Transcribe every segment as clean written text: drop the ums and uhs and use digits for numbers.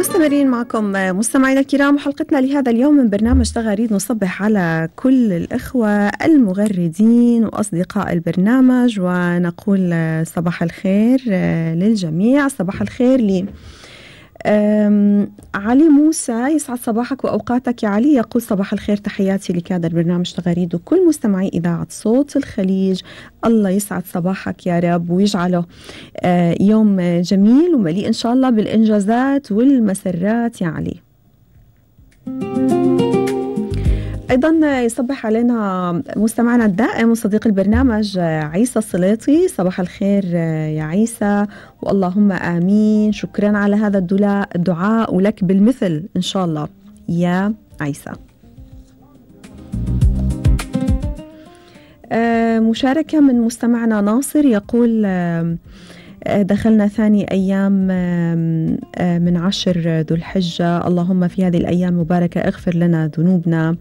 مستمرين معكم مستمعينا الكرام، وحلقتنا لهذا اليوم من برنامج تغاريد نصبح على كل الإخوة المغردين وأصدقاء البرنامج ونقول صباح الخير للجميع. صباح الخير لي علي موسى، يسعد صباحك وأوقاتك يا علي. يقول صباح الخير، تحياتي لكادر برنامج تغاريد وكل مستمعي إذاعة صوت الخليج. الله يسعد صباحك يا رب ويجعله يوم جميل ومليء إن شاء الله بالإنجازات والمسرات يا علي. أيضا يصبح علينا مستمعنا الدائم وصديق البرنامج عيسى السليطي. صباح الخير يا عيسى واللهم آمين. شكرا على هذا الدعاء ولك بالمثل إن شاء الله يا عيسى. مشاركة من مستمعنا ناصر، يقول دخلنا ثاني أيام من 10 ذو الحجة، اللهم في هذه الأيام المباركة اغفر لنا ذنوبنا،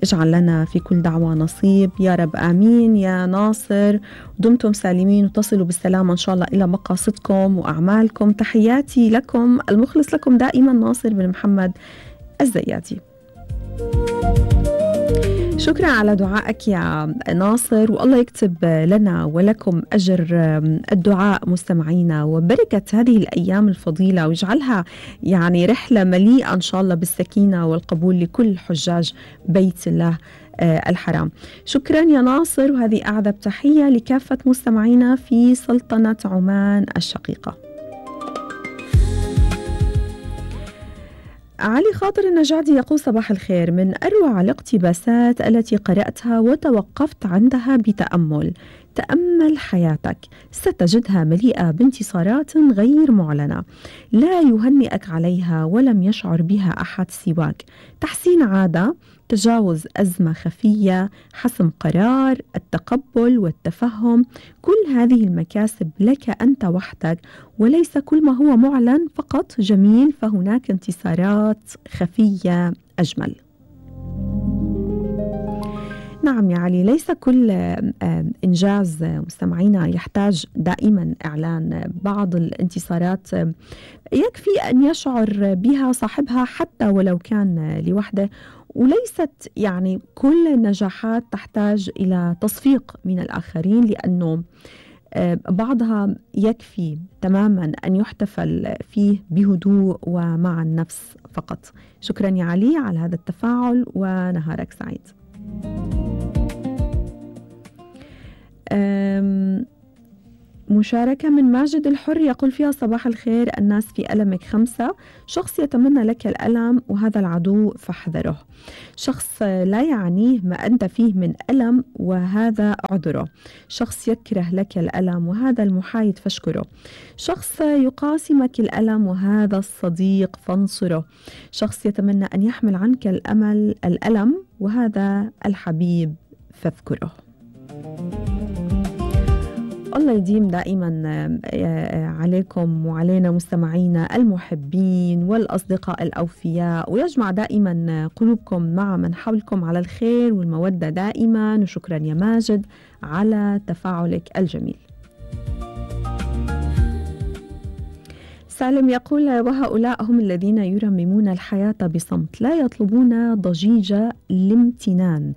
اجعل لنا في كل دعوة نصيب يا رب آمين. يا ناصر دمتم سالمين وتصلوا بالسلامة إن شاء الله إلى مقاصدكم وأعمالكم. تحياتي لكم، المخلص لكم دائما ناصر بن محمد الزيادي. شكرا على دعائك يا ناصر، والله يكتب لنا ولكم أجر الدعاء مستمعينا وبركة هذه الأيام الفضيلة، ويجعلها يعني رحلة مليئة إن شاء الله بالسكينة والقبول لكل حجاج بيت الله الحرام. شكرا يا ناصر، وهذه أعذب تحية لكافة مستمعينا في سلطنة عمان الشقيقة. علي خاطر النجادي يقول صباح الخير، من أروع الاقتباسات التي قرأتها وتوقفت عندها بتأمل. تأمل حياتك ستجدها مليئة بانتصارات غير معلنة لا يهنئك عليها ولم يشعر بها أحد سواك. تحسين عادة، تجاوز أزمة خفية، حسم قرار، التقبل والتفهم، كل هذه المكاسب لك أنت وحدك، وليس كل ما هو معلن فقط جميل، فهناك انتصارات خفية أجمل. نعم يا علي، ليس كل إنجاز مستمعينا يحتاج دائما إعلان. بعض الانتصارات يكفي أن يشعر بها صاحبها حتى ولو كان لوحده، وليست يعني كل النجاحات تحتاج إلى تصفيق من الآخرين، لأنه بعضها يكفي تماما أن يحتفل فيه بهدوء ومع النفس فقط. شكرا يا علي على هذا التفاعل ونهارك سعيد. مشاركة من ماجد الحر يقول فيها صباح الخير، الناس في ألمك 5، شخص يتمنى لك الألم وهذا العدو فاحذره، شخص لا يعنيه ما أنت فيه من ألم وهذا عذره، شخص يكره لك الألم وهذا المحايد فاشكره، شخص يقاسمك الألم وهذا الصديق فانصره، شخص يتمنى أن يحمل عنك الألم وهذا الحبيب فاذكره. الله يديم دائما عليكم وعلينا مستمعينا المحبين والأصدقاء الأوفياء، ويجمع دائما قلوبكم مع من حولكم على الخير والمودة دائما. وشكرا يا ماجد على تفاعلك الجميل. سالم يقول وهؤلاء هم الذين يرممون الحياة بصمت، لا يطلبون ضجيج الامتنان،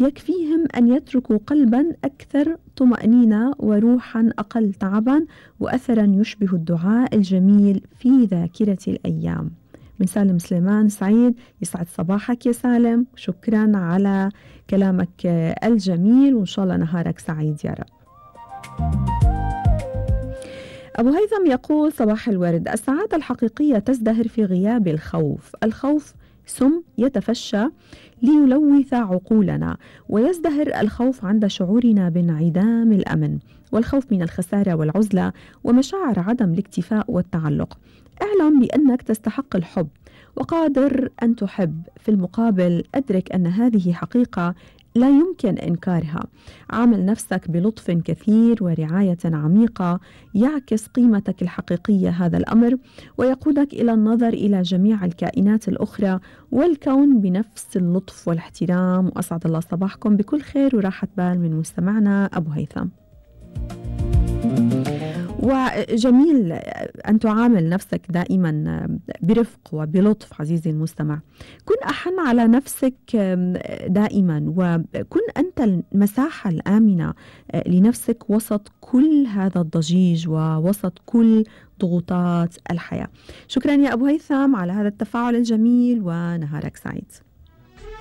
يكفيهم أن يتركوا قلبا أكثر طمأنينة وروحا أقل تعبا وأثرا يشبه الدعاء الجميل في ذاكرة الأيام. من سالم سليمان سعيد، يسعد صباحك يا سالم، شكرا على كلامك الجميل وإن شاء الله نهارك سعيد يا رب. أبو هيثم يقول صباح الورد، السعادة الحقيقية تزدهر في غياب الخوف، الخوف سم يتفشى ليلوث عقولنا، ويزدهر الخوف عند شعورنا بانعدام الأمن، والخوف من الخسارة والعزلة ومشاعر عدم الاكتفاء والتعلق. اعلم بأنك تستحق الحب وقادر أن تحب، في المقابل أدرك أن هذه حقيقة لا يمكن إنكارها. عامل نفسك بلطف كثير ورعاية عميقة يعكس قيمتك الحقيقية. هذا الأمر ويقودك إلى النظر إلى جميع الكائنات الأخرى والكون بنفس اللطف والاحترام. وأسعد الله صباحكم بكل خير وراحة بال من مستمعنا أبو هيثم. وجميل أن تعامل نفسك دائما برفق وبلطف عزيزي المستمع. كن أحن على نفسك دائما، وكن أنت المساحة الآمنة لنفسك وسط كل هذا الضجيج ووسط كل ضغوطات الحياة. شكرا يا أبو هيثم على هذا التفاعل الجميل، ونهارك سعيد.